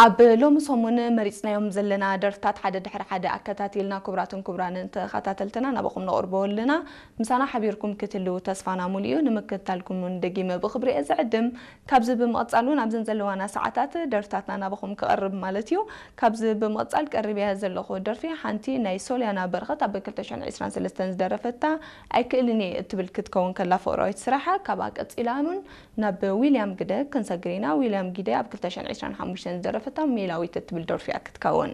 ኣብ ሎሚ ሰሙን መሪጽናዮም ዘለና ደርፍታት ሓደ ድሕሪ ሓደ ኣከታቲልና፣ ክቡራትን ክቡራንን ተኸታተልትና፣ ናባኹም ነቕርቦ ኣለና። ምሳና ሓቢርኩም ክትህልዉ ተስፋና ሙሉ እዩ። ንምክትታልኩም እውን ደጊመ ብኽብሪ እየ ዝዕድም። ካብዚ ብምቕጻል እውን ኣብዘን ዘለዋና ሰዓታት ደርፍታትና ናባኹም ክቐርብ ማለት እዩ። ካብዚ ብምቕጻል ቀሪበያ ዘለኹ ደርፊ ሓንቲ ናይ ሶልያና በረኸት ኣብ ክልተ ሽሕን ዕስራን ሰለስተን ዝደረፈታ ኣይክእልን እየ እትብል ክትከውን ከላ፣ ፍቕራዊት ስራሓ። ካብኣ ቀጺላ እውን ናብ ዊልያም ግደ ክንሰግር ኢና። ዊልያም ግደ ኣብ ክልተ ሽሕን ዕስራን ሓሙሽተን ዝደረፈታ ሜላዊት እትብል ደርፊ እያ ክትከውን።